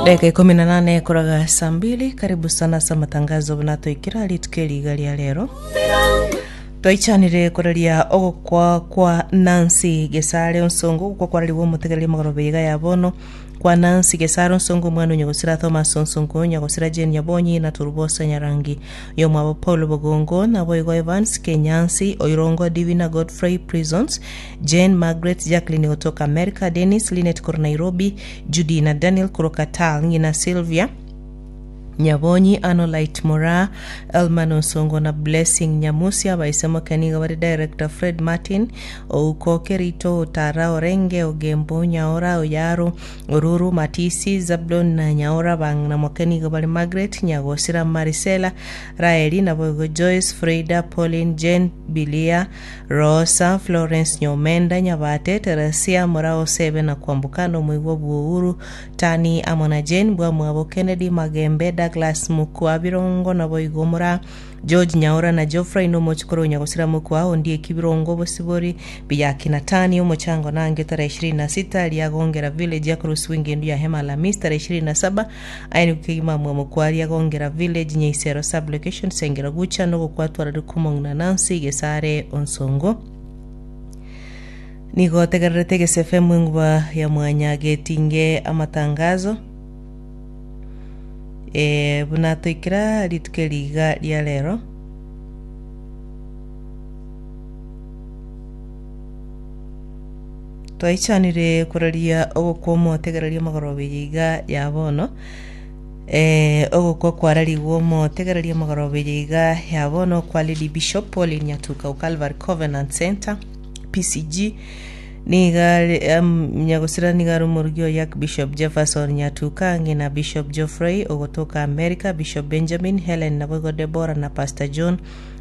Dakika ikumi na nane koraga saa mbili karibu sana ase amatangazo buna toikera rituko eriga ria rero twaichanire koraria ogokwa kwa Nancy Gesare Onsongo ogokwa kwararigwe omotegereri omogoroba iga ya bono kwa Nancy Gesare Onsongo omwana onyagosira Thomas Onsongo onyagosira Jane Nyabonyi na Turubosa Nyarangi oyomwabo Paul Bogongo naboigo Evans Kenyansi Oirongo Divina Godfrey Prisons Jane Margaret Jacqueline gotoka America Dennis Linet korwa Nairobi Judy na Daniel korwa Qatar, ng'ina Sylvia, Nyabonyi, Anolite Moraa, Elman Onsongo na Blessing Nyamusi. Abaise moke nigo bare Director Fred Martin, Ouko Kerito, Otara, Orenge, Ogembo, Nyaora, Oyaro, Oruru, Matisi, Zablon na Nyaora. Abang'ina moke nigo bare Margaret, Nyagosira, Marisela, Raeli, naboigo Joyce, Freida, Pauline, Jane, Bilia, Rosa, Florence Nyomenda, Nyabate, Teresia, Murao, Sebe na Kwamboka, na omoigwa bw'Ouru, Tani amo na Jane, bwamwabo Kennedy, Magembe, Douglas, Mokua, Birongo, naboigo Mura, George Nyaora na Geoffrey, na omochokoro o Nyagosira Mokua, Ondieki Birongo, Bosibori, Biyaki na Tani, omochango nange tarehe 26, Riagongera Village, Yakorusiwa engendu ya Hema Alhamisi tarehe 27, Aye nigo kegima mwamokwa Riagongera Village, Nyaisero Sub-location, Sengera Gucha, nogokwatwara Rikumong na Nancy Gesare Onsongo. Nigo otegererete Gese FM enguba ya mwanya getinge amatangazo eh, buna toikera rituko eri iga ria rero. Twaichanire koraria ogokwa omotegereria omogoroba eye iga ya bono, eh, ogokwa kwararigwe omotegereria omogoroba eye iga ya bono kwa Lady Bishop Pauline Nyatuka o Calvary Covenant Centre, PCG, niga are um, nyagosira niga are omorugi oye Archbishop Jefferson Nyatuka ang'e na Bishop Geoffrey ogotoka America, Bishop Benjamin, Helen naboigo Deborah na Pastor John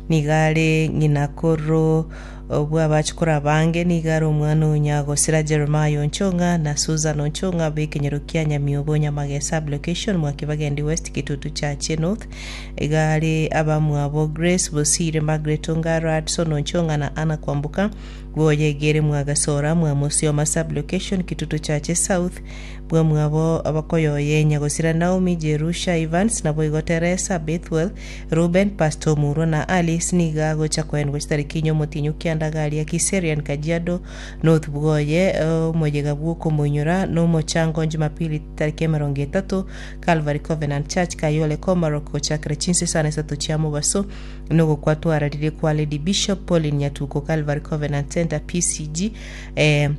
niga are ng'ina koro Obw'abachukuru abange nigo are omwana o Nyagosira Jeremiah Onchong'a na Susan Onchong'a b'ekenyoro kia Nyamiobo Nyamage Sub-location Mwakibagendi West Kitutu Chache North. Iga are abamwabo Grace Bosire, Margaret Ongaro, Hudson Onchong'a na Anna Kwamboka bw'Oyegere Mwagasora Mwamusioma Sub-location Kitutu Chache South bw'amwabo abakoyoye Nyagosira Naomi, Jerusha Evans, naboigo Teresa, Bethuel, Reuben, Pastor Omurwa na Alice nigo agocha koenigwa chitariki inye omotienyi o kianda garia Kiserian, Kajiado North bwoye omoyega bw'okomoinyora nomochango Jumapili tariki emerongo etato Calvary Covenant Church Kayole Komarok gochakera chinsa isano isato chia mobaso nogokwa twararire kwa Lady Bishop Pauline Nyatuko Calvary Covenant Centre PCG eh,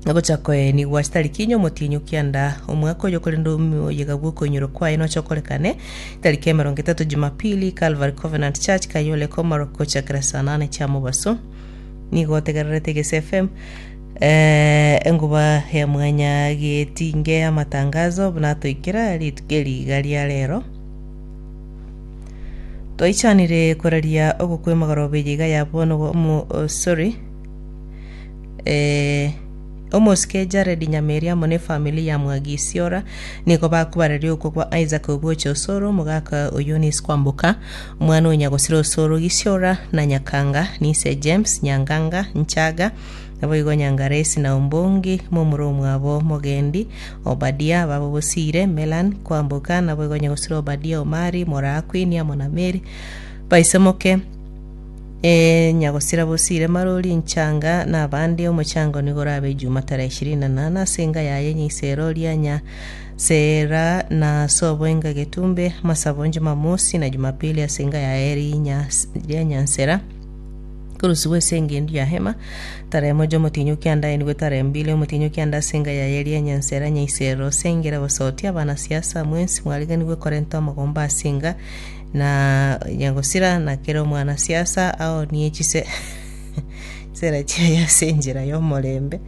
Ogocha koenigwa chitariki inye omotienyi o kianda omwaka oyo korende omoyega bw'okoinyora kwaye noche okorekane tariki emerongo etato Jumapili, Calvary Covenant Church, Kayole, Komarok, gochakera saa nane chia mobaso. Nigo otegererete Egesa FM eh, enguba ya mwanya getinge amatangazo buna toikera rituko eri iga ria rero. Twaichanire koraria ogokwa emagoroba eye iga ya bono omo, oh, sorry Eh, omosike Jared Nyameri amo nefamiri ya Mwagisiora nigo bakobareria okwo kwa Isaac Oboche Osoro, omogaka o Eunice Kwamboka, omwana o Nyagosira Osoro Gisiora na Nyakanga, nise James Nyanganga Nchaga, naboigo Nyangaresi na Ombongi, momura omwabo Mogendi, Obadia, babo Bosire, Melan Kwamboka, naboigo Nyagosira Obadia Omari, Moraa Queen amo na Mary, baisemoke. Ee, nyagosira bosire marori inchanga na abande omochango nigo orabe Ijuma tarehe ishirini na nane ase enga yaye nyaisero ria Nyasera na ase oboenga Getumbe amasabo Jumamosi na Jumapili ase enga yaye ria Nyansera korusigwa ase engendu ya Hema tarehe moja omotienyi o kianda aenigwe tarehe mbili omotienyi o kianda ase enga yaye ria Nyansera Nyaisero Sengera Basoti abanasiasa mwensi mwariganigwe korenta amagomba ase enga Na nyagosira na kera omwanasiasa aonie chise chisera chiaye ase enchera y'omorembe.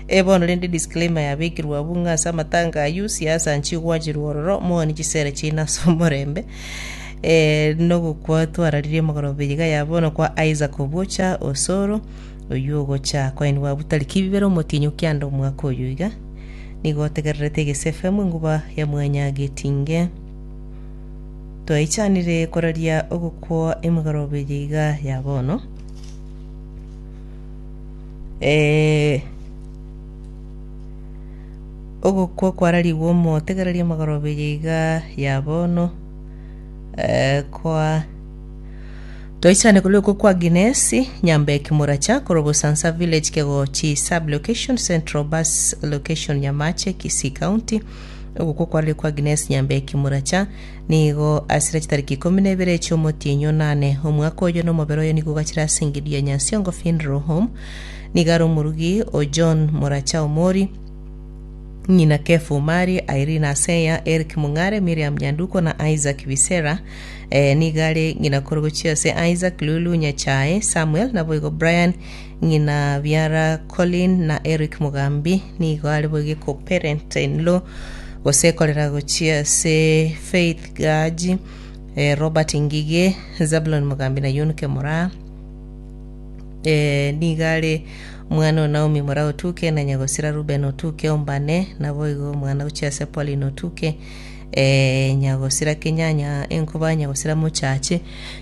Eh, bono rende disclaimer yabekirwe abwo ng'a ase amatanga ayio siasa nchigwachirwe ororo, mooni chisera chiaino ase omorembe. Eh, nogokwa twararirie omogoroba eye iga ya bono kwa Isaac Obwocha Osoro, oyio ogocha koenigwa abwo tariki bibere omotienyi o kianda omwaka oyo iga. Nigo otegererete Egese FM enguba ya Mwanyagetinge. Twaichanire koraria ogokwa emegoroba eye iga ya bono. Eh, Ogokwa kwararigwe omotegereria amagoroba eye iga ya bono eh, kwa Toichane korwa okwo kwa Ginesi, Nyambeki Moracha, korwa Bosansa Village Kegochi Sub Location, Central Bus Location Nyamache, Kisii County. Ogokwa kwararigwe kwa Ginesi Nyambeki Moracha nigo asire chitariki ikomi na ibere chi'omotienyi onane omwaka oyo na omobere oye nigo ogachire ase engencho ya Nyansiongo Funeral Home. Nigo are omorugi o John Moracha Omori, ng'ina Kefa Omari, Irene Aseya, Eric Mung'are, Miriam Nyanduko na Isaac Bisera. Eh, nigo are ng'ina korwa gochia ase Isaac, Lulu, Nyachae, Samuel, naboigo Brian, ng'ina biara Colin na Eric Mugambi. Nigo are boigo co-parent in law gose korera gochia ase Faith Gaji, eh, Robert Ngige, Zabulon Mugambi na Yunke Moraa. Eh, nigo are omwana o Naomi mora Otuke, na nyagosira Ruben Otuke ombane, naboigo omwana gochia ase Pauline Otuke, eh, nyagosira Kenyanya enkoba, nyagosira Mochache,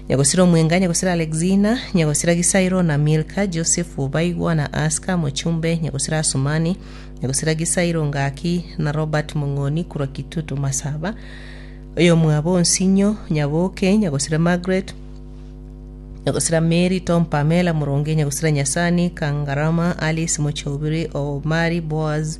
nyagosira Omwenga, nyagosira Alexina, nyagosira Gisairo na Milka, Joseph Obaigwa na Aska Mochumbe, nyagosira Asumani, nyagosira Gisairo Ngaki na Robert Mong'oni korwa Kitutu Masaba, oyomwabo Onsinyo Nyaboke, nyagosira Margaret, Nyagosira Mary, Tom, Pamela, Moronge, Nyagosira Nyasani, Kangarama, Alice, Mochobiri, Omari, Boaz,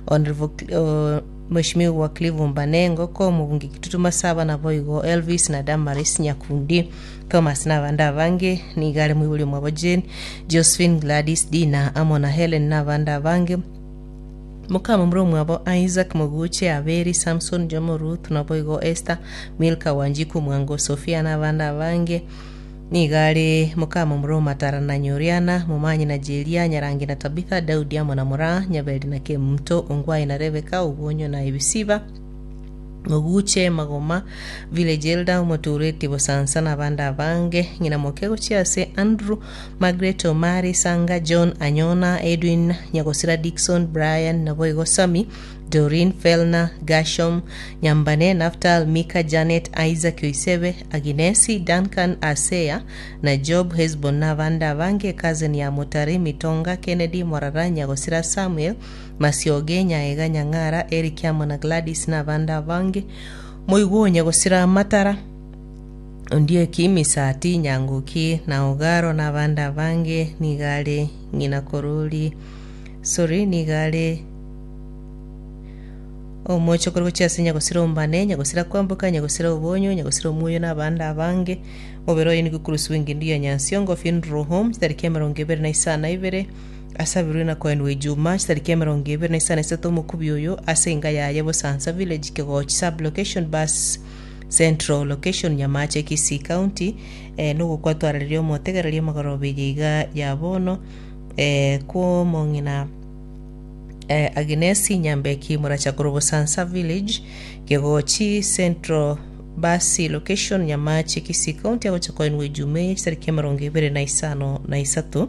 Honorable, uh, Mheshimiwa Clive Mbane, Ngoko, Omobunge Kitutu Masaba, naboigo Elvis na Damaris Nyakundi, Thomas na abande abange, nigo are moibori omwabo Jane, Josephine, Gladys, Dina, amo na Helen na abande abange. Mokamomura omwabo Isaac, Moguche, Abeli, Samson, Jomo, Ruth, naboigo Esther, Milka, Wanjiku, Mwango, Sofia, na abande abange. Nigo are mokamomura Omatara na Nyoriana, Momanyi na Jeria, Nyarangi na Tabitha, Daudi amo na Moraa, Nyaberi na Kemunto, Ongwae na Rebeka, Obwonyo na Ebisiba, Moguche, Magoma, Village Elder, Omotureti Bosansa na abande abange. Ng'ina moke gochia ase Andrew, Margaret, Omari, Sanga, John, Anyona, Edwin, Nyagosira, Dickson, Brian, naboigo Sammy, Doreen, Felna, Gershom, Nyambane, Naftal, Mika, Janet, Isaac, Oisebe, Aginesi, Duncan, Asea, na Job, Hesbon, na abande abange, Cousin ya Motari, Mitonga, Kennedy, Morara, Nyagosira, Samuel, Masioge, Nyaega, Nyang'ara, Eric amo na Gladys, na abande abange. Moigwe onye gosira amatara, Ondieki, Misati, Nyanguki, na Ogaro, na abande abange, nigo are ng'ina korori, sorry, nigo are omochokoro gochia ase nyagosira ombane, nyagosira kwamboka, nyagosira obonyo, nyagosira omuoyo, na abande abange. Omobere oye nigo okorusigwa engendu ya Nyansiongo Funeral Home, chitariki emerongo ebere na isano na ibere, Asabirwe na koenigwa Ijuma, chitariki emerongo ebere na isano na isato omokubi oyo ase enka yaye Bosansa Village, Kegochi Sub-location, Bus Central Location, Nyamache, Kisii County, eh, nogokwatwarareria omotegereria omogoroba eye iga ya bono eh, kw'omong'ina eh, Agnesi Nyambeki Moracha korwa Bosansa Village, Kegochi Central Basi Location, Nyamache, Kisii County, agocha koenigwa Ijuma eye chitariki emerongo ebere na isano na isato.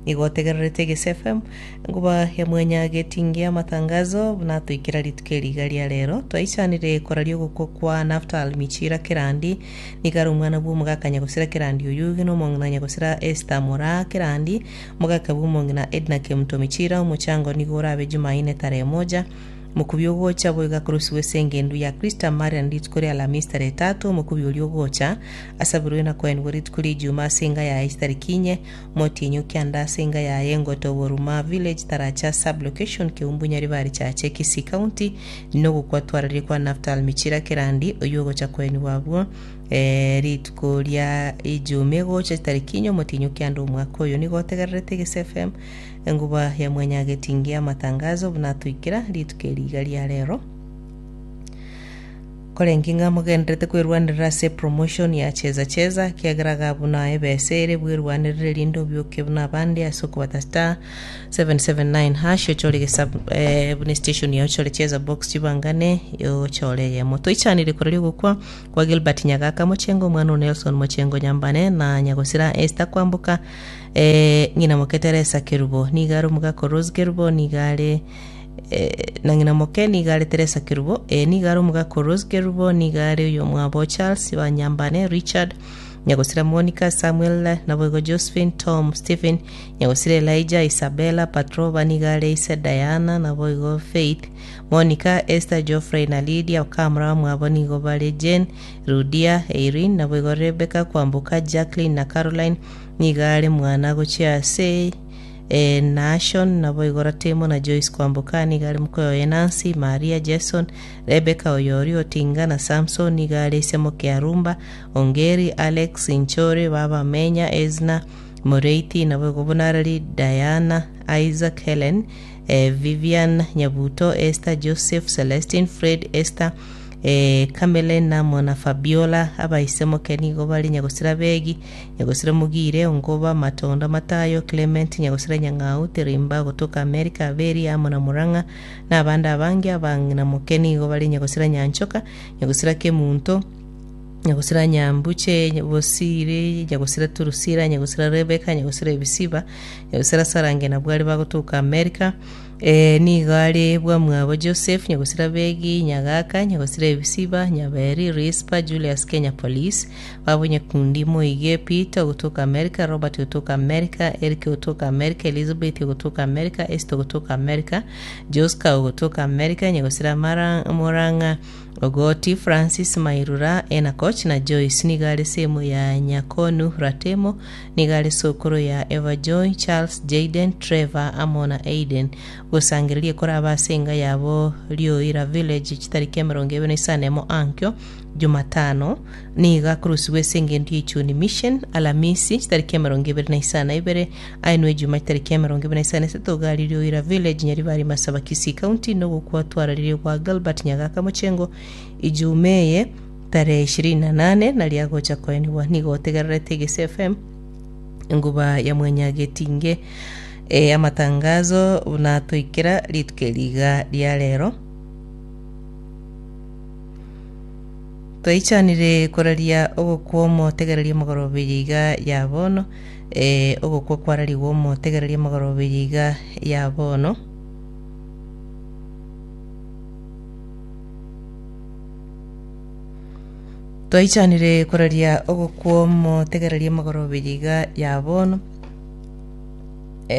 Nigo otegererete Egese FM, enkuba ya mwanyagetingia amatangazo buna atoikera rituko eri iga ria rero. Twaichanire koraria ogokwa kwa Naftal Michira Kerandi, nigo are omwana bw'omogaka Nyagosira Kerandi Oyugi na omong'ina Nyagosira Esther Moraa Kerandi, omogaka bw'omong'ina Edna Kemunto Michira. Omochango nigo orabe Jumaine tarehe moja. Omokubi ogocha boigo akorusigwa ase engendu ya Krista Marian rituko ria Alamisi tarehe tatu, omokubi oria ogocha asabirwe na koenigwa rituko ria Ijuma ase enga yaye chitariki inye, Motienyi okianda ase enga yaye engoto Boruma Village, Taracha Sub-location, Keumbu Nyaribari Chache, Kisii County, nogokwa twararie kwa Naftal Michira Kerandi, oyio ogocha koenigwa abwo rituko ria Ijumaa egocha chitariki inye omotienyi okianda omwaka oyo. Nigo otegererete Egesa FM, enguba ya mwanyagetingia amatangazo buna atoikera rituko eri iga ria rero. Korenge ng'a mogendererete kwerwanerera ase epromotion ya cheza cheza, ekiagera iga buna ebesa ere bwerwanerere erinde obioke buna abande ase okobata star 779 hash ochore gesa eh, buna estation yao ochore cheza box chibangane ochore eyemo. Toichanire koraria ogokwa kwa Gilbert Nyagaka Mochengo omwana o Nelson Mochengo Nyambane na Nyagosira Esther Kwamboka eh, ng'ina moke Teresa Kerubo nigo are omogaka Rose Kerubo nigo are na ng'ina moke nigo are Teresa Kerubo, ee, nigo are omogaka o Rose Kerubo, nigo are oyomwabo Charles Banyambane, Richard, Nyagosira Monica, Samuel, naboigo Josephine, Tom, Stephen, Nyagosira Elijah, Isabella, Patroba, nigo are ise Diana, naboigo Faith, Monica, Esther, Geoffrey na Lydia, Okamura bamwabo nigo bare Jane, Rudia, Irene, naboigo Rebecca, Kwamboka, Jacqueline na Caroline, nigo are mwana gochia ase Nashon, naboigo Ratemo na Joyce Kwamboka, nigo are mokoyo oye Nancy, Maria, Jason, Rebecca, Oyori, Otinga na Samson, nigo are ise moke Arumba, Ongeri, Alex, Inchore, Baba Menya, Ezna, Moreiti, naboigo Bonarari, Diana, Isaac, Helen, Vivian, Nyabuto, Esther, Joseph, Celestine, Fred, Esther, Kamelen amo na Fabiola. Abaise moke nigo bare Nyagosira Begi, Nyagosira Mogire, Ongoba, Matonda, Matayo, Clement, Nyagosira Nyang'au, Terimba, gotoka America, Aberi amo na Murang'a, na abande abange. Abang'ina moke nigo bare Nyagosira Nyanchoka, Nyagosira Kemunto, Nyagosira Nyambuche, Bosire, Nyagosira Turusira, Nyagosira Rebeka, Nyagosira Ebisiba, Nyagosira Sarange na Bwari bagotoka America. Nigo are bwamwabo Joseph, Nyagosira Begi, Nyagaka, Nyagosira Ebisiba, Nyaberi, Rispa, Julius Kenya Police, babo Nyakundi, Moige, Peter ogotoka America, Robert ogotoka America, Eric ogotoka America, Elizabeth ogotoka America, Esther ogotoka America, Joska ogotoka America, Nyagosira Mara, Morang'a, Ogoti, Francis, Mairura, Enakoch na Joyce nigo are semo ya Nyakonu Ratemo, nigo are sokoro ya Eva Joy, Charles, Jayden, Trevor amo na Aiden. Gosangereria koraba ase enga yabo Rioira Village chitariki 25 ankio Jumatano nigo akorusigwa ase engendo ye Ichuni Mission Alamisi chitariki 22 aenwe Ejuma chitariki 23 gari Rioira Village Nyaribari Masaba Kisii County nogokwa twararirie gwa Gilbert Nyagaka Mochengo Ijuma eye tarehe 28 naria agocha koenigwa nigo otegererete Egese FM enguba ya mwanyagetinge e, amatangazo buna toikera rituko eri iga ria rero. Twaichanire koraria ogokwa omotegereria omogoroba eye iga ya bono, ee, ogokwa kwararigwe omotegereria omogoroba eye iga ya bono. Twaichanire koraria ogokwa omotegereria omogoroba eye iga ya bono,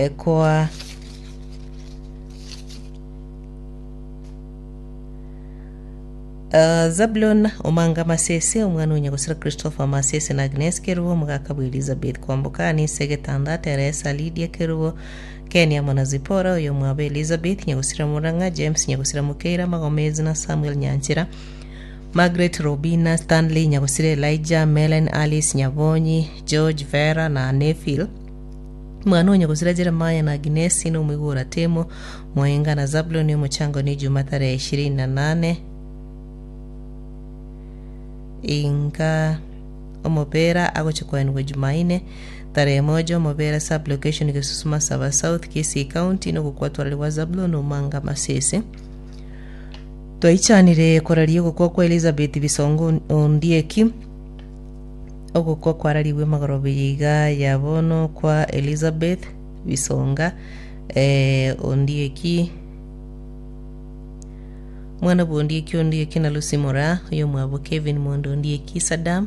ekoa Zabulon Omanga Masese, omwana o nyagosira Christopher Masese na Agnes Kerubo, omogaka bwa Elizabeth Kwamboka, Anisa Egetanda, Teresa, Lydia Kerubo, Ken amo na Zipporah, oyomwabo Elizabeth Nyagosira Murang'a, James Nyagosira Mokeira, Magomezi na Samuel Nyanchera, Margaret Robina, Stanley Nyagosira Elijah, Melen Alice Nyabonyi, George Vera na Nephil. Omwana o nyagosira Jeremiah na Agnesi na omoigwa Temo, Moenga na Zabuloni omochango ni Juma tarehe 28 inka omobera agochia koenigwa Jumaine tarehe moja omobera sub location Gesusu Masaba South Kisii County nogokwatwararigwa Zabuloni Omanga Masese Twaichanire koraria ogokwa kwa Elizabeth Bisongo Ondieki Ogokwa kwararigwe magoroba eye iga ya bono kwa Elizabeth Bisonga Ondieki Mwana bwa Ondieki Ondieki na Lucy Moraa, oyomwabo Kevin Mondo Ondieki, Sadam,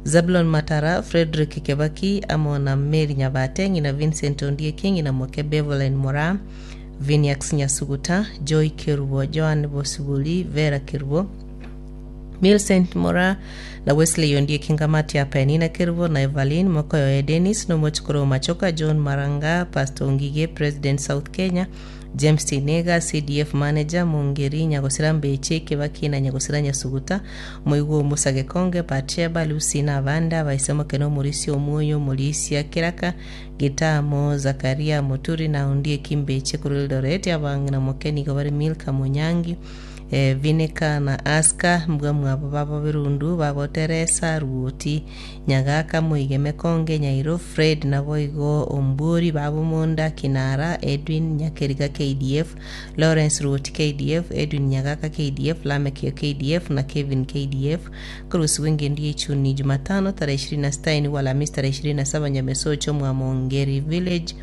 Zablon Matara, Fredrick Kebaki amo na Mary Nyabate, ng'ina Vincent Ondieki, ng'ina moke Beverlyn Moraa, Viniax Nyasuguta, Joy Kerubo, Joan Bosibori, Vera Kerubo, Millicent Moraa na Wesley Ondieki Ngamati ya Penina Kerubo na Evaline Mokoyoe Dennis na omochokoro o Machoka John Maranga Pastor Ngige President South Kenya James Tinega CDF Manager Mongeri Nyagosira Mbeche Kebaki na Nyagosira Nyasuguta Moigwa o Musa Gekonge Batsheba Lucy na abande abaise Mokene Omorisia Omwoyo Omorisia Keraka Gitamo Zakaria Muturi na Ondieki Mbeche korwa Eldoret Abang'ina Moke nigo bare Milka Monyangi Vinika na Aska, mbwa mwabo babo Birundu, babo Teresa, Ruoti, Nyagaka, Moige Mekonge, Nyairo, Fred, naboigo Ombwori, babo Monda, Kinara, Edwin, Nyakeriga KDF, Lawrence Ruoti KDF, Edwin Nyagaka KDF, Lameck o KDF na Kevin KDF. Korusigwa engendu y'echuni Jumatano tarehe 26 inwe Alhamisi tarehe 27 Nyamesocho mwa Mongeri Village.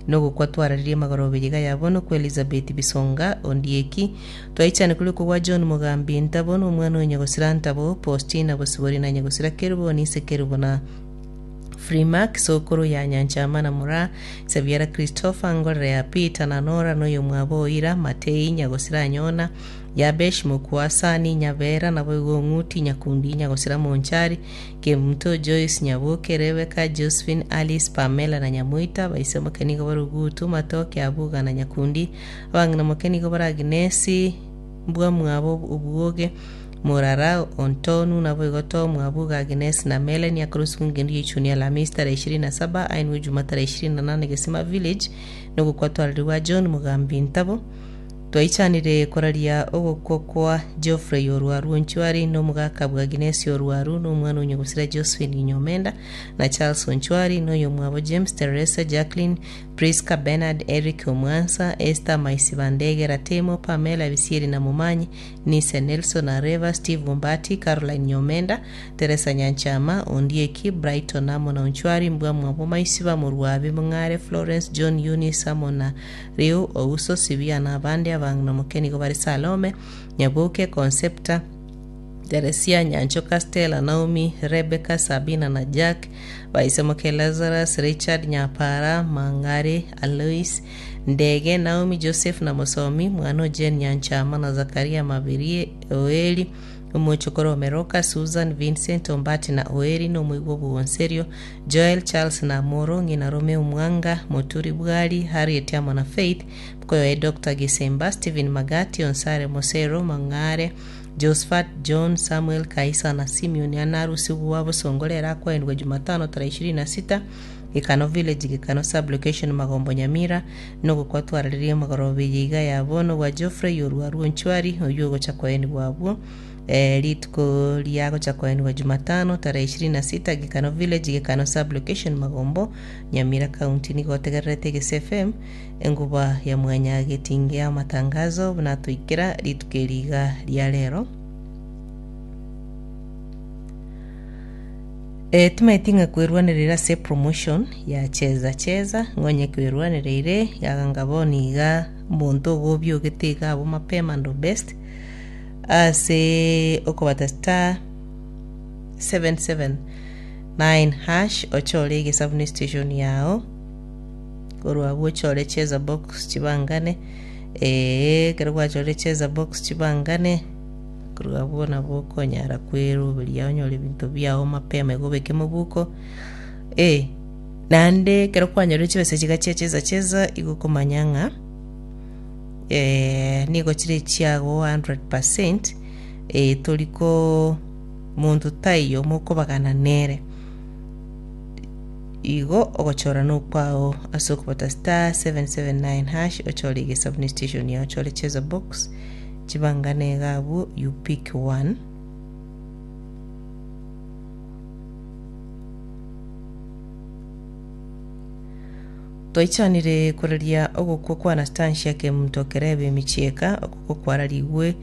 Nogokwa twararirie magoroba iga ya bono kwa Elizabeth Bisonga Ondieki, twaichane korikwa gwa John Mogambi Ntabo na omwana o Nyagosira Ntabo, Postina Bosibori na Nyagosira Kerubo na ise Kerubo na. Freemark, sokoro ya Nyanchama na Moraa, Sebiara Christopher, Ngorere ya Peter na Nora, na oyomwabo Oira, Matei, Nyagosira Anyona, Yabesh, Mokuasani, Nyabera, naboigo Ong'uti, Nyakundi, Nyagosira Monchari, Kemunto, Joyce, Nyaboke, Rebecca, Josephine, Alice, Pamela na Nyamoita, baise moke nigo bare Ogutu, Matoke, Abuga na Nyakundi, abang'ina moke nigo bare Agnesi, Mbwamwabo, Obwoge, Morara, Ontonu, naboigo Tom, Abuga, Agnes na Melanie, akorosigwa engendu ya Ichuni Alhamisi tarehe 27, ainwe Ijuma tarehe 28 Gesima Village, nogokwa twarerigwa John Mugambi Ntabo. Twaichanire koraria ogokwa kwa Geoffrey Orwaru Onchwari, na omogaka bw'Agnesi Orwaru, na omwana o nyagosira Josephine Nyomenda, na Charles Onchwari, na oyomwabo James, Teresa, Jacqueline, Prisca, Bernard, Eric Omwansa, Esther Maisibandege, Ratemo, Pamela Bisieri na Momanyi, Nise Nelson Areva, Steve Ombati, Caroline Nyomenda, Teresa Nyanchama, Ondieki, Brighton amo na Onchwari, Mbwamwabo Maisiba, Morwabi, Mong'are, Florence, John, Eunice amo na Riu, Ouso, Sibia na abande abang'ina omoke nigo bare Salome, Nyaboke, Concepta, Teresia, Nyanchoka, Stella, Naomi, Rebecca, Sabina na Jack, Baisemoke, Lazarus, Richard, Nyapara, Mang'are, Alois, Ndege, Naomi, Joseph na Mosomi, mwana o Jane Nyanchama na Zakaria Mabirie, Oeli, omochokoro o Meroka, Susan, Vincent, Ombati na Oeri, na omoigwa obwonserio, Joel, Charles na Amoro, ng'ina Romeo Mwanga, Moturi Bwari, Harriet amo na Faith, mokoyoe Doctor Gisemba, Stephen Magati, Onsare Mosero, Mang'are, Josphat, John, Samuel, Kaisa na Simeon anarusigwa bosongo rero akoenigwa Jumatano tarehe 26 Gekano Village, Gekano Sub-location, Magombo Nyamira, nogokwa twararirie magoroba eye iga ya bono gwa Geoffrey Orwaru Onchwari oyio ogocha koenigwa abwo rituko ria gocha koenigwa Jumatano tarehe 26 Gekano Village, Gekano Sub-location, Magombo Nyamira County. Nigo otegererete Egese FM enguba ya mwanyagetinge ya amatangazo buna toikera rituko eri iga ria rero. Eh, timaeti ng'a kwerwanerera ase epromotion ya cheza cheza, ng'onye kwerwanereire iga ng'a bono iga omonto ogobiogete iga abwo mapema ndo best ase okobata star 779 hash ochore egesabuni station yao korwa abwo ochore cheza box chibangane eh, ekero gwachorire cheza box chibangane Korwa abwo nabo okonyara kweroberia onyore ebinto biao mapema igo obeke mobuko. Eh, naende ekero kwanyorire chibesa chiga chia cheza cheza igo okomanya ng'a eh, nigo chire chiago 100% eh, tori ko monto taiyo mokobagana nere. Igo ogochora nokwao ase okobata star 779 hash ochore egesabuni station yao ochore cheza box Chibangane iga abwo you pick one. Twaichanire koraria ogokwa kwa Anastasia Kemunto Kerebe Emichieka, ogokwa kwararigwe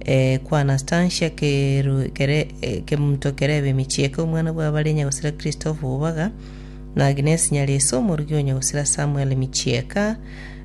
eh, kwa Anastasia Keru, Kere, eh, Kemunto Kerebe Emichieka, omwana bw'abare Nyagosira Christopher Obaga na Agnes Nyareso, omorugi o Nyagosira Samuel Michieka,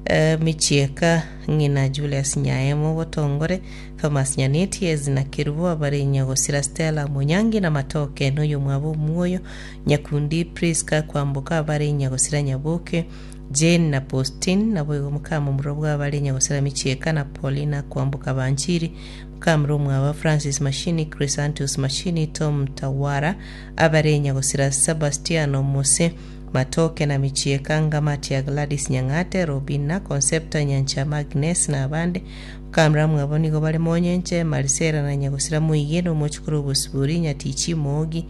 eh, Michieka Ng'ina Julius Nyaemo Botongore, Thomas Nyaneti, Ezi na Kerubo, abare Nyagosira Stella Monyangi na Matoke, noyomwabo Omwoyo, Nyakundi Prisca Kwamboka, abare Nyagosira Nyaboke, Jane na Postine, naboigo mokamomura bw'abare Nyagosira Michieka na Paulina Kwamboka Banchiri, mokamura omwabo Francis Mashini, Chrysantus Mashini, Tom Tawara, abare Nyagosira Sebastiano Mose, Matoke na Michieka, Ngamatia Gladys Nyang'ate, Robina, Concepta Nyanchama Agnes na abande. Bakamura mwabo nigo bare Monyenche, Marisela na Nyagosira Moige na omochukuru Obosibori, Nyatichi, Moogi,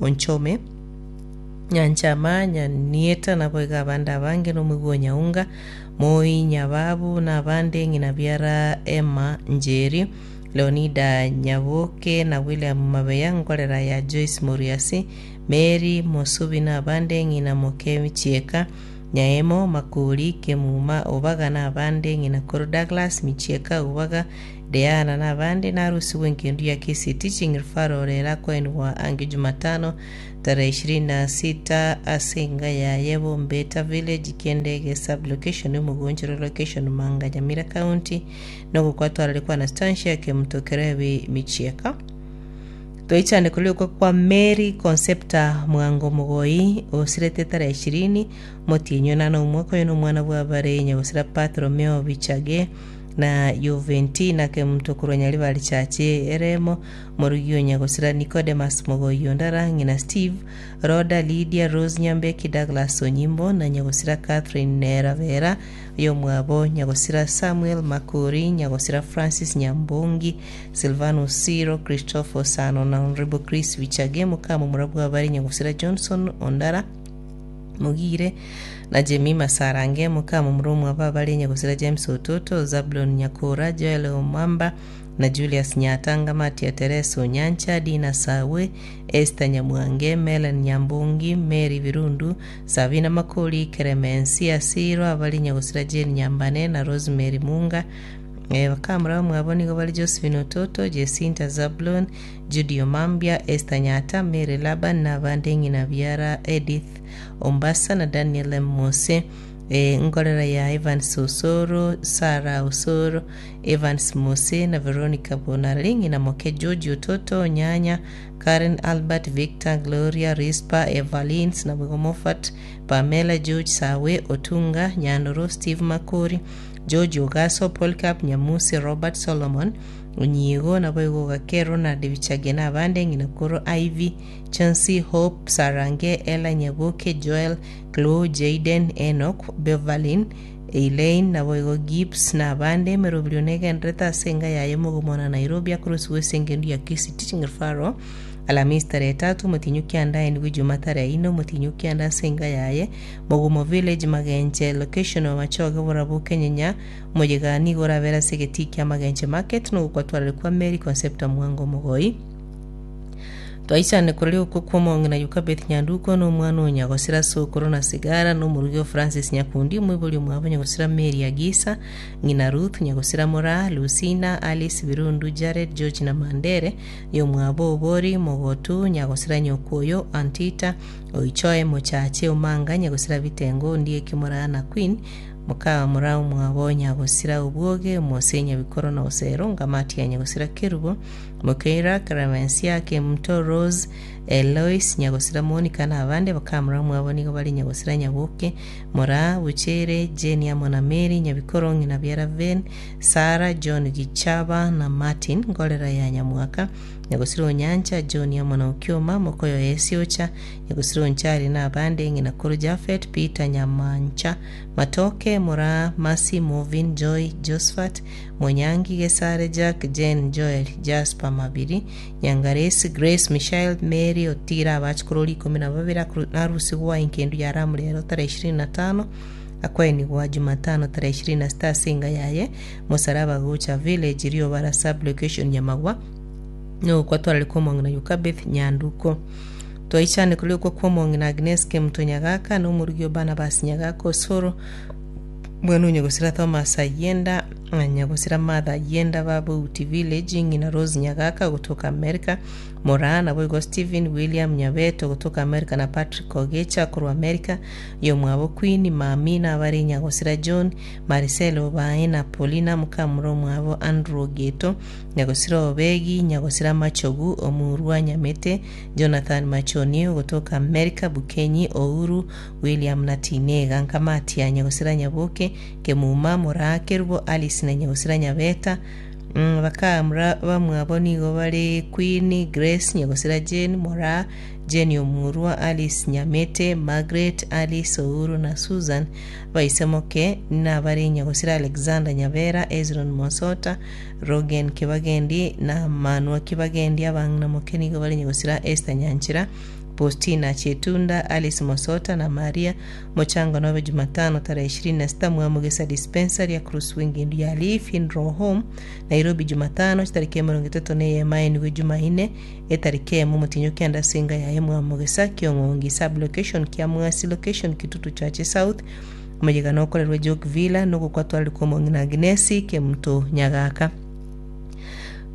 Onchome, Nyanchama, Nyanieta naboigo abande abange na omoigwa o Nyaunga, Moi, Nyababu na abande, ng'ina biara Emma Njeri, Leonida Nyaboke na William Mabeya, nkorera ya Joyce Moriasi, Meri, Mosubi na abande, ng'ina moke Michieka, Nyaemo, Makori, Kemuma, Obaga na abande, ng'ina koro Douglas, Michieka, Obaga, Deana na abande, narusigwe engendu ya Kisii Teaching Referral erakoenigwa ange Jumatano tarehe 26 ase enga yaye Bombeta Village, Kiendege Sub-location, Omogonchoro Location, Manga, Nyamira County, nogokwa twarare kwa Anastasia Kemuto Kerebi Michieka. Toichane koria okwo kwa Mary Concepta Mwango Mogoi, osirete tarehe ishirini, motienyi onane omwaka oyo nomwana bw'abare nyagosira Bartholomeo Bichage na Juventina Kemunto korwa Nyaribari Church Eremo, morugi o nyagosira Nicodemus Mogoi Ondara, ng'ina Steve, Rhoda, Lydia, Rose Nyambeki, Douglas Onyimbo na nyagosira Catherine Nerabera oyomwabo nyagosira Samuel Makori, nyagosira Francis Nyambongi, Silvanus Siro, Christopher Osano na Honourable Chris Bichage, mokamomura bw'abare nyagosira Johnson Ondara, Mogire, na Jemima Sarange, mokamomura omwabo abare nyagosira James Ototo, Zablon Nyakora, Joel Omwamba, na Julius Nyatanga, Matia Teresa Onyancha, Dina Sawe, Esther Nyamwange, Mellen Nyambongi, Mary Birundu, Sabina Makori, Keremensia Siro, abare nyagosira Jane Nyambane, na Rosemary Munga, Bakamura bamwabo nigo bare Josephine Ototo, Jesinta Zablon, Judy Omambia, Esther Nyata, Mary Laban, na abande ng'ina biara Edith Ombasa na Daniel M. Mose, nkorera ya Evans Osoro, Sarah Osoro, Evans Mose na Veronica Bonarari, ng'ina moke George Ototo, Onyanya, Karen Albert, Victor, Gloria, Rispa, Evalins, naboigo Moffat, Pamela, George Sawe, Otunga, Nyandoro, Steve Makori, George Ogaso, Polycarp Nyamusi, Robert Solomon, Onyiego, naboigo Ogake, Ronald Bichage na abande, ng'ina koro Ivy, Chauncey, Hope, Sarange, Ella Nyaboke, Joel, Chloe, Jayden, Enoch, Beverlyn, Elaine, naboigo Gibbs na abande. Emeroberio negendererete ase enga yaye Mogomona Nairobi akorosiwa ase engendu ya Kisii Teaching Referral Alamisi tarehe tatu omotienyi okianda aenigwe Ijumaa tarehe ine omotienyi okianda ase enga yaye Mogumo Village, Magenche Location, Omachoge Oborabu Kenyenya Omoyega nigo orabere ase egetii kia Magenche Market nogokwatwarire kwa Mary Concepta Mwango Omogoi. Twaichane koraria okwo kw'omong'ina Yokabeth Nyanduko na omwana o Nyagosira Sokoro na Sigara na omorugi o Francis Nyakundi omoibori omwabo Nyagosira Mary Agisa ng'ina Ruth Nyagosira Moraa Lucina Alice Birundu Jared George na Mandere yomwabo Obori Mogotu Nyagosira Nyokoyo Antita Oichoe mochache omanga nyagosira bitengo ondieki moraa na queen moka moraa omwabo nyagosira obwoge omose nyabikoro na osero ngamati ya nyagosira kerubo mokeira clemencia kemunto rose elois nyagosira monica na abande bakamura omwabo nigo bare nyagosira nyaboke moraa buchere jane amo na mary nyabikoro ng'ina biara ven sara john gichaba na martin ngorera ya nyamwaka Nyagosira onyancha, John amo na Okioma, mokoyo oye Siocha, Nyagosira onchari na abande, ng'ina koro Jafet, Peter, Nyamancha, Matoke, Moraa, Mercy, Movin, Joy, Josphat, Monyangi, Gesare, Jack, Jane, Joel, Jasper, Mabiri, Nyangaresi, Grace, Michael, Mary, Otira, abachukuru ikomi na babere narusigwa enkendu ya Ramu rero tarehe ishirini na tano akoenigwa Jumatano tarehe ishirini na sita ase enga yaye Mosaraba gocha Village Riobara Sub Location Nyamagwa Nogokwa twarare kw'omong'ina Yokabeth Nyanduko. Twaichane koria okwa kw'omong'ina Agnes Kemuto Nyagaka na omorugi o Barnabas Nyagaka Osoro, bwana o nyagosira Thomas Ayienda na nyagosira Martha Ayienda ba Bouti Village, ng'ina Rose Nyagaka gotoka America, Moraa naboigo Stephen William Nyabeto gotoka America na Patrick Ogecha korwa America, oyomwabo Queen, Mami na abare nyagosira John, Maricel Obae na Paulina mokamura omwabo Andrew Ogeto, Nyagosira Obegi, Nyagosira Machogu, Omurwa Nyamete, Jonathan Machoni, ogotoka Amerika, Bukenyi, Ouru, William na Tinega, Nkamatia, Nyagosira Nyaboke, Kemuma, Moraa, Kerubo, Alice na Nyagosira Nyabeta, Bakamura bamwabo nigo bare Queen, Grace, Nyagosira Jane, Moraa, Jane Omurwa, Alice Nyamete, Margaret, Alice Ouru na Susan. Baisemoke nabare Nyagosira Alexander Nyabera, Ezron Mosota, Rogen Kibagendi na Manua Kibagendi, abang'ina moke nigo bare nyagosira Esther Nyanchera, Postina Chetunda, Alice Mosota na Maria Mochango nobe Jumatano tarehe ishirini na sita Mwamugesa Dispensary across Wingindu ya Lee Funeral Home Nairobi Jumatano chitariki emerongo etato na eyemo aenigwe Jumaine etariki eyemo omotienyi o kianda ase enga yaye Mwamugesa Kiong'ongi Sub Location Kiamwasi Location Kitutu Chache South Omoyega nokorerwe Jock Villa nogokwa twarire kw'omong'ina Agnesi Kemunto Nyagaka.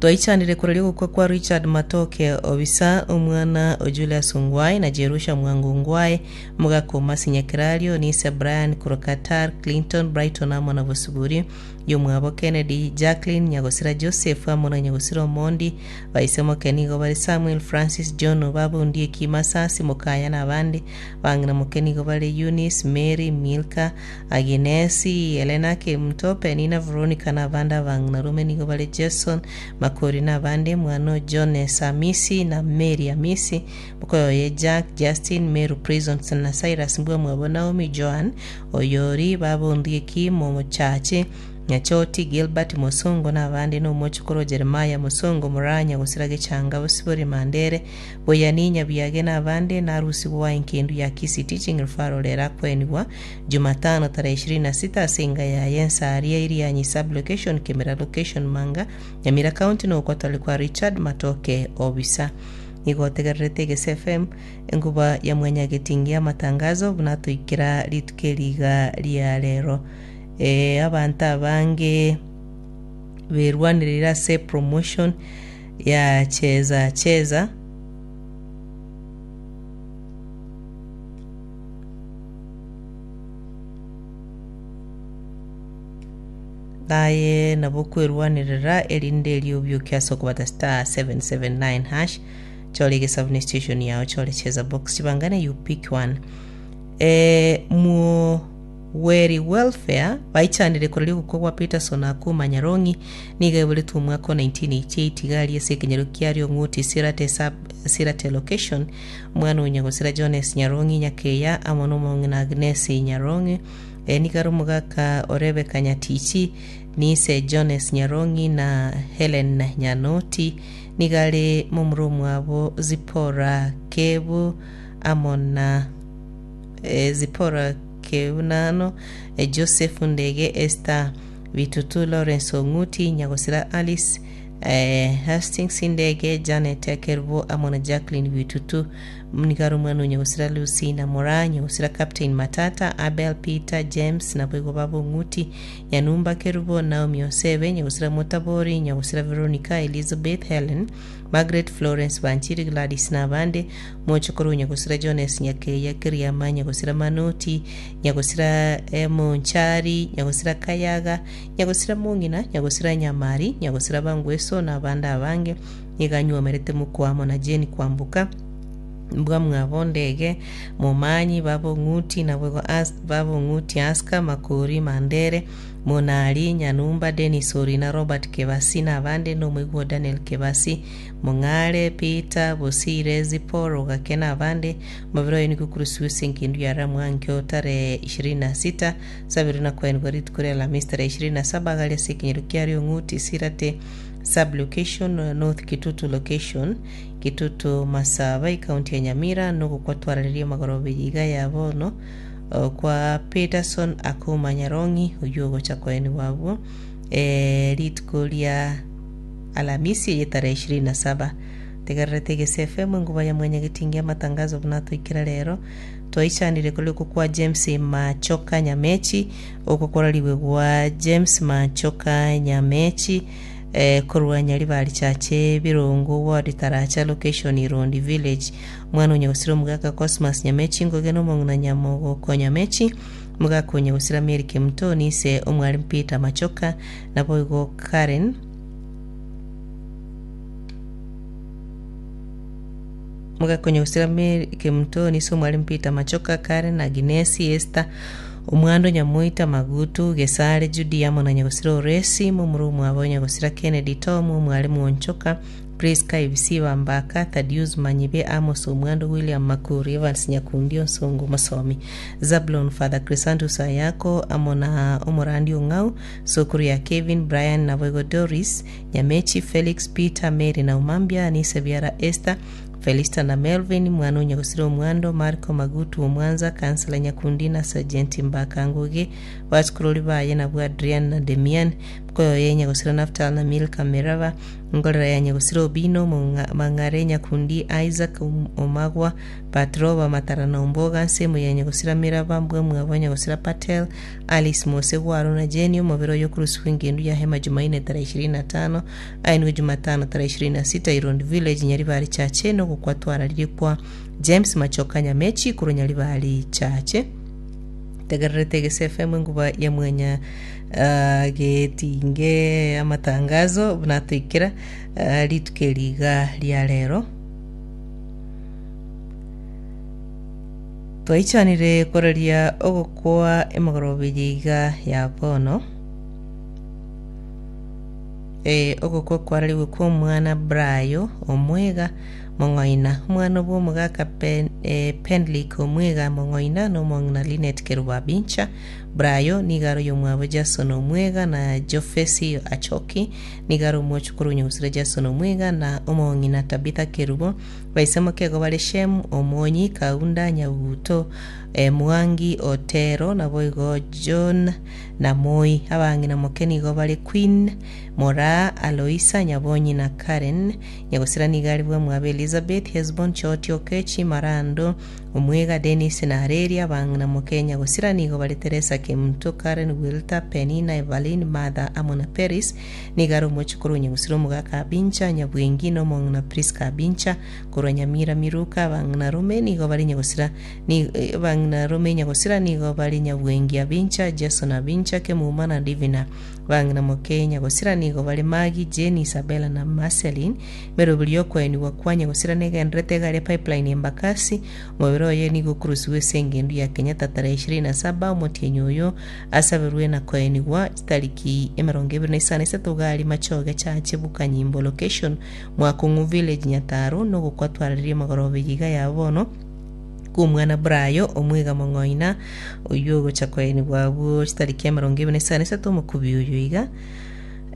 Twaichanire koraria ogokwa kwa Richard Matoke Obisa, omwana o Julius Ongwae na Jerusha Mwango Ongwae, omogaka o Mercy Nyakerario, Nise Brian korwa Qatar, Clinton, Brighton amo na Bosibori, Yomwabo Kennedy, Jacqueline, Nyagosira Joseph amo na Nyagosira Omondi, Baise moke nigo bare Samuel, Francis, John, Obaba Ondieki, Masasi, Mokaya na abande. Bang'ina moke nigo bare Eunice, Mary, Milka, Aginesi, Helena, Kemunto, Penina, Veronica na abande. Abang'ina rome nigo bare Jason, Makori na abande. Mwana o Jones, Amisi, na Mary Amisi, mokoyoye Jack, Justin, Meru, Prisons na Cyrus mbwamwabo Naomi, Joan, Oyori, baba Ondieki, Momochache, Nyachoti, Gilbert, Mosongo na abande na omochokoro Jeremiah, Mosongo, Muranya, Gosira Gechanga, Bosibori, Mandere, Boyani, Nyabiage na abande narusigwa enkendu ya Kisii Teaching Referral erakwenigwa Jumatano tarehe 26 ase enga yaye Ensaria Irianyi Sub Location Kemera Location Manga Nyamira County na okwatari kwa Richard Matoke Obisa. Nigo otegererete Egese FM enkuba ya mwanyagetingi y'amatangazo buna toikera rituko eri iga ria rero. Ee, abanto abange berwanereire ase promotion ya cheza cheza naye nabo kwerwanerera erinde erio obioke ase okobata star 779 hash chore egesabuni station yao chore cheza box chibangane you pick one eh, muo Weri Welfare baichanire koraria ogokwa gwa Peterson Akuma Nyarong'i nigo aiboretwe omwaka o 1988 iga aria ase ekenyoro kia Riong'uti Sirate Sub Sirate Location omwana o Nyagosira Jones Nyarong'i Nyakeya amo nomong'ina Agnes Nyarong'i eh, nigo are omogaka o Rebecca Nyatichi niise Jones Nyarong'i na Helen Nyanoti nigo are momura omwabo Zipporah Kebu amo na Zipporah Keunano, Joseph Ndege, Esther Bitutu, Lawrence Ong'uti, Nyagosira Alice, Hastings Ndege, Janet Kerubo amo na Jacqueline Bitutu. Nigo are omwana o Nyagosira Lucy na Moraa, Nyagosira Captain Matata, Abel Peter, James, naboigo baba Ong'uti, Nyanumba Kerubo, Naomi Osebe, Nyagosira Motabori, Nyagosira Veronica, Elizabeth, Helen, Margaret, Florence, Banchiri, Gladys na abande, Mochokoro Nyagosira Jones, Nyakeya, Keriama, Nyagosira Manoti, Nyagosira Monchari, Nyagosira Kayaga, Nyagosira Mong'ina, Nyagosira Nyamari, Nyagosira Bangweso na abande abange, nigo anywomerete mokwa amo na Jane Kwamboka, Mbwamwabo Ndege, Momanyi, Baba Ong'uti, naboigo As, Baba Ong'uti Aska, Makori, Mandere, Monari, Nyanumba, Dennis Orina, Robert Kebasi na abande, na omoigwa o Daniel Kebasi, Mong'are, Peter, Bosire, Zipporah, Ogake na abande. Omobere oye nigo okorusigwa ase engendu ya Ramwankio tarehe 26, Sabiri na koenigwa rituko ria Alhamisi tarehe 27 agari ase ekenyoro kia Riong'uti, Sirate Sub-location, North Kitutu Location, Kitutu Masaba, Ekaunti ya Nyamira, nogokwa twarareria amagoroba eye iga ya bono kwa Peterson Akuma Nyarong'i oyio ogocha koenigwa abwo rituko ria Alamisi eye tarehe 27. Tegererete Egese FM enguba ya mwanyagetingi amatangazo buna toikera rero twaichanire kore okwo kwa James Machoka Nyamechi okwo korarigwe gwa James Machoka Nyamechi eh, korwa Nyaribari Chache Birongo Ward Taracha Location Irondi Village omwana o Nyagosira omogaka Cosmas Nyamechi Ngoge na omong'ina Nyamogoko Nyamechi omogaka o Nyagosira Mary Kemutoni ise omwalimu Peter Machoka naboigo Karen Mogakonya gosira Mary Kemutoni ase omwalimu Peter Machoka, Karen, Aginesi, Esther, Omwando, Nyamoita, Magutu, Gesare, Judy amo na nyagosira Oresi, momura omwabo nyagosira Kennedy Tom, omwalimu Onchoka, Prisca, Ebisiba, Mbaka, Thaddeus Manyibe, Amos Omwando, William Makuri, Evans Nyakundi, Onsongo Mosomi, Zablon, Father Chrysanthus Ayako, amo na omorandi Ong'au, Sokoro ya Kevin, Brian, naboigo Doris, Nyamechi, Felix, Peter, Mary na Omambia, Anise biara Esther, Felista na Melvin, mwana o Nyagusira Omwando, Marco Magutu Omwanza, Councillor Nyakundi na Sergeant Mbaka Ngugi, Basukurori baye nabwo Adrian na Demian, Mkoyo ye Nyagusira Naftal na Milka Meraba, Ngorera ya Nyagusira Obino, Mang'are Nyakundi, Isaac Omagwa, Patroba Matara na Omboga, Nsemo ya Nyagusira Meraba, Mbwamwabo Nyagusira Patel, Alice Mose Gwaro na Jane, Omobere oyo okorusigwa engendu ya Hema Jumaine tarehe 25, Aye nigo Jumatano tarehe 26 Irondi Village Nyaribari Chache nogokwa twararirie kwa James Machoka Nyamechi korwa Nyaribari Chache. Tegererete Egese FM enguba ya mwenya ah, getinge amatangazo buna atoikera ah, rituko eri iga ria rero. Twaichanire koraria ogokwa emegoroba eye iga ya bono. Ee, ogokwa kwararigwe kw'omwana Brayo omwega mong'oina, omwana bw'omogaka Pen, eh, Penlick omwega mong'oina, na omong'ina Linet Kerubo Abincha. Brayo nigo are oyomwabo Jason omwega na Jofesi Achoki nigo are omochokoro o nyagusira Jason omwega na omong'ina Tabitha Kerubo. Baise mokego bare Shem, Omonyi, Kaunda, Nyabuto, eh, Mwangi, Otero, naboigo John na Moi. Abang'ina moke nigo bare Queen, Moraa, Aloisa, Nyabonyi na Karen. Nyagosira nigo are bwamwabo Elizabeth, Hesbon, Choti, Okechi, Marando, Omwega, Dennis na Areria. Abang'ina moke Nyagosira nigo bare Teresa, Kemunto, Karen, Wilta, Penina, Evaline, Martha amo na Peris. Nigo are omochokoro o Nyagosira omogaka Abincha, Nyabwengi na omong'ina Prisca Abincha. Korwa Nyamira Miruka abang'ina rome nigo bare Nyagosira Abang'ina rome Nyagosira nigo bare Nyabwengi Abincha, Jason Abincha, Kemuma na Divina. Abang'ina moke Nyagosira nigo bare Maggie, Jane, Isabella na Marceline. Emeroberi y'okoenigwa kwa Nyagosira negendererete egari ya Pipeline Embakasi. Omobere oye nigo okorusigwa ase engendu ya Kenyatta tarehe 27 omotienyi oyo asaberwe na koenigwa chitariki 25 gari Machoge Chache Bukanyimbo Location Mwakong'u Village Nyataro nogokwa twararerie magoroba eye iga ya bono kw'omwana Brayo omwega mong'oina oyio ogocha koenigwa abwo chitariki 23 omokubi oyo iga.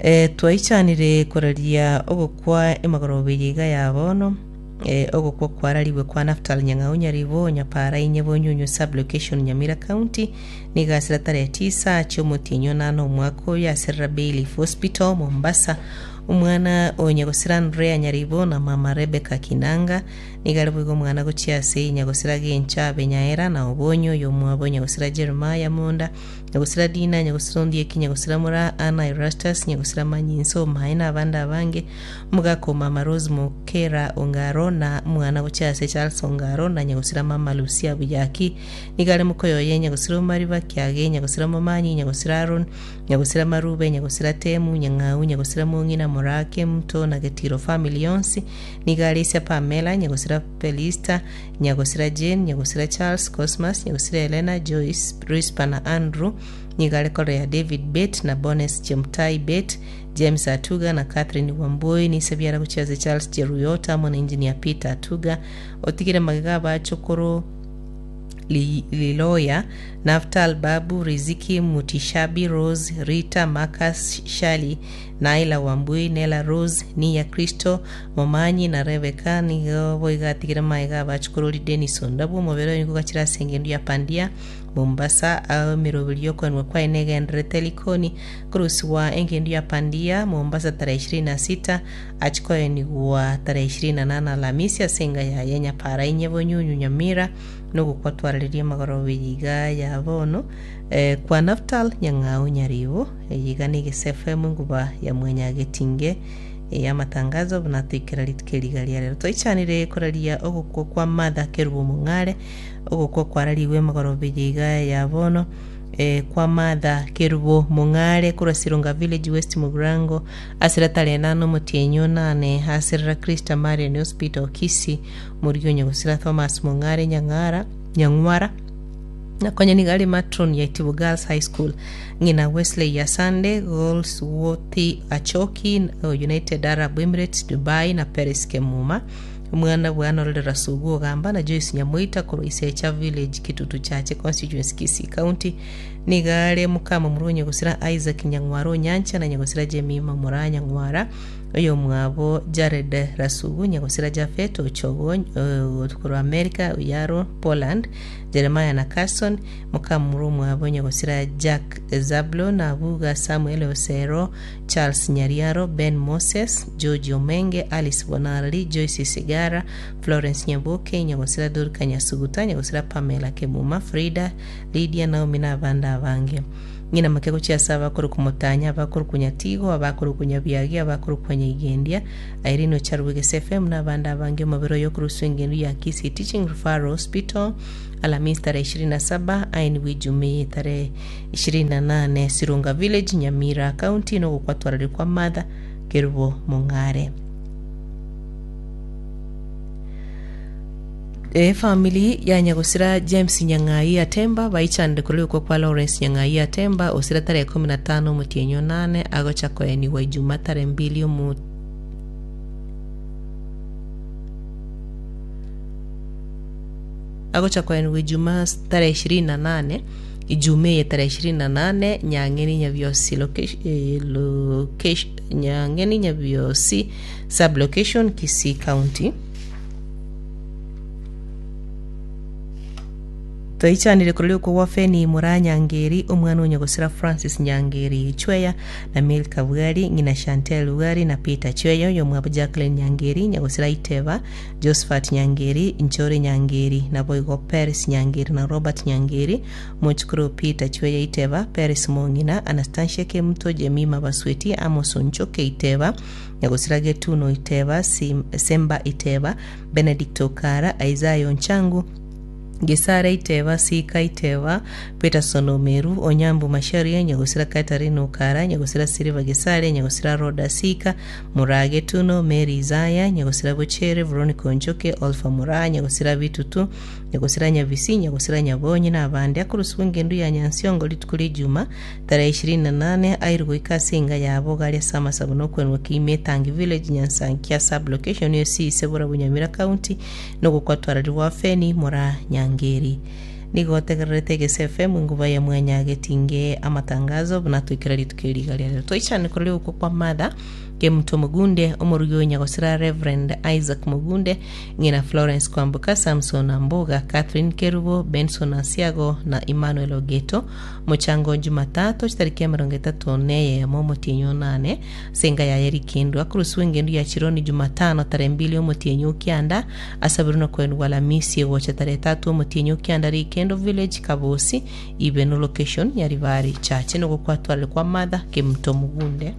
Eh, twaichanire koraria ogokwa emagoroba eye iga ya bono eh, ogokwa kwararigwe kwa Naftal Nyang'au Nyaribo Nyapara Inye Bonyunyu Sub-location Nyamira County nigo asira tarehe tisa chiomotienyi onane omwaka oyo aserera Bayliff Hospital Mombasa Omwana o nyagosira Andrea Nyaribo na mama Rebecca Kinanga Nigo are boigo omwana gochia ase nyagosira Gencha abe Nyaera, na Obonyo, oyomwabo nyagosira Jeremiah Monda, nyagosira Dina, nyagosira Ondieki, nyagosira Moraa, Anna Erastus, nyagosira Manyinsa, Omae, na abande abange, omogaka o mama Rose Mokera Ongaro, na omwana gochia ase Charles Ongaro, na nyagosira mama Lucia Buyaki. Nigo are mokoyoye nyagosira Omariba, Kiage, nyagosira Momanyi, nyagosira Aaron, Nyagosira Marube, nyagosira Temu, Nyang'au, nyagosira Mong'ina, Moraa, Kemuto, na Getiro family yonsi. Nigo are ise Pamela, nyagosira Felista, nyagosira Jane, nyagosira Charles, Cosmas, nyagosira Helena, Joyce, Rispa na Andrew. Nigo are korera David Bett na Bones Chemtai Bett, James Atuga na Catherine Wambui, nise biara gochia ase Charles Cheruiyot amo na Engineer Peter Atuga. Otigire magega abachokoro Liloya, Naftal, Babu, Riziki, Mutishabi, Rose, Rita, Marcus, Shirley, Naila Wambui, Nella Rose, Nia Kristo, Momanyi na Rebecca nigo boigo atigire magega abachukurori Dennis Ondabu omobere oye nigo ogachire ase engendu ya Pandia, Mombasa, ao emeroberi y'okoenwa kwaye negendererete Likoni korusigwa engendu ya Pandia, Mombasa tarehe 26 achie koenigwa tarehe 28 Alamisi ase enga yaye Nyapara inye Bonyunyu Nyamira nogokwa twararerie amagoroba eye iga ya bono eh, kwa Naftal Nyang'au Nyaribo eye iga negese FM enguba ya Mwanyagetinge ey'amatangazo buna toikera rituko eri iga ria rero. Toichanire koraria ogokwa kwa Martha Kerubo Omong'are, ogokwa kwararigwe emegoroba eye iga ya bono eh, kwa Martha Kerubo Mong'are korwa Sironga Village West Mugirango ase ratare enane omotienyi onane aserera Christa Marian Hospital Kisii Morigia onye gosira Thomas Mong'are Nyang'ara Nyang'wara na konya nigo are matron ya Itibo Girls High School ng'ina Wesley Yasande Goldsworthy Achoki o United Arab Emirates Dubai na Paris Kemuma omwana bwanorerera Sugu Ogamba na Joyce Nyamoita korwa Isecha Village Kitutu Chache Constituency Kisii County nigo are mokama omorwa onye gosira Isaac Nyang'wara Onyancha na nyagosira Jemima Moraa Nyang'wara. Oyomwabo Jared Rasugu, Nyagosira Japhet Ochogo korwa America, Oyaro, Poland, Jeremiah na Carson, mokamura omwabo Nyagosira Jack Zablon, Abuga Samuel Osero, Charles Nyariaro, Ben Moses, George Omenge, Alice Bonarari, Joyce Sigara, Florence Nyaboke, Nyagosira Dorca Nyasuguta, Nyagosira Pamela Kemuma, Frida, Lydia, Naomi na abande abange. Ng'ina make gochia ase abakorokwa Motanya, abakorokwa Nyatigo, abakorokwa Nyabiagi, abakorokwa Nyaigendia, Irene Ocharwe Gese FM na abande abange omobere oyo okoruswa engendu ya Kisii Teaching Referral Hospital Alamisi tarehe 27 aenigwe Ijumii tarehe 28 Sironga Village Nyamira County nogokwatwararire kwa Martha Kerubo Mong'are. Efamiri ya nyagosira James Nyang'ai Atemba baichanire korwa rigokwa kwa Lawrence Nyang'ai Atemba osira tarehe 15 omotienyi onane agocha koenigwa Ijuma tarehe mbili omo agocha koenigwa Ijuma tarehe 28 Ijuma eye tarehe 28 Nyang'eni Nyabiosi location, eh, location, Nyang'eni Nyabiosi sub location Kisii County. Twaichanire korwa riuko gwa Feni Moraa Nyangeri, omwana o nyagosira Francis Nyangeri Chweya, na Milka Bwari, ng'ina Chantel Bwari na Peter Chweya, oyomwabo Jacqueline Nyangeri, nyagosira Iteba, Josephat Nyangeri, Nchore Nyangeri, naboigo Peris Nyangeri na Robert Nyangeri, mochukuru Peter Chweya Iteba, Peris Mong'ina, Anastasia Kemuto, Jemima Basweti, Amos Onchoke Iteba, Nyagosira Getuno Iteba, Semba Iteba, Benedict Okara, Isaiah Onchangu, Gesare Iteba, Sika Iteba, Peterson Omeru, Onyambu Macharia, Nyagosira Catherine Okara, Nyagosira Silver Gesare, Nyagosira Rhoda Sika, Muraa Getuno, Mary Isaiah, Nyagosira Bochere, Veronica Onchoke, Olpha Muraa, Nyagosira Bitutu, Nyagosira Nyabisi, Nyagosira Nyabonyi na abande. Akorosibwa engendu ya Nyansiongo rituko ria Ijuma tarehe 28 airwe goika ase enga yabo gari ase amasabo na okwenwa kiime Etangi Village Nyansankia Sub Location ase Borabu Nyamira County nogokwatwararigwa Feni Moraa Nyangeri. Nigo otegererete Egese FM enguba ya mwanyagetinge amatangazo buna toikera rituko eri iga riarero. Toichane korora ogokwa kwa Martha Kemunto Mogunde, omorugi o Nyagosira Reverend Isaac Mogunde, ng'ina Florence Kwamboka, Samson Amboga, Catherine Kerubo, Benson Asiago na Emmanuel Ogeto. Mochango Jumatatu chitariki 31 omotienyi onane ase enka yaye Rikindwa akoroswa engendu ya Chironi Jumatano tarehe mbili omotienyi okianda asabirwe na koenigwa Alamisi egocha tarehe tatu omotienyi okianda Rikendo Village Kabosi Ibeno Location Nyaribari Chache nogokwatwarire kwa Martha Kemunto Mugunde.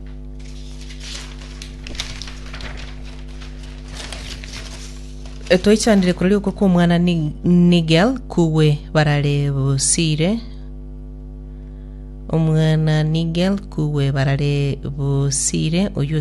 Twaichandire korwa rigoko kw'omwana Nigel kugwe barare bosire Omwana Nigel kugwe barare bosire oyio.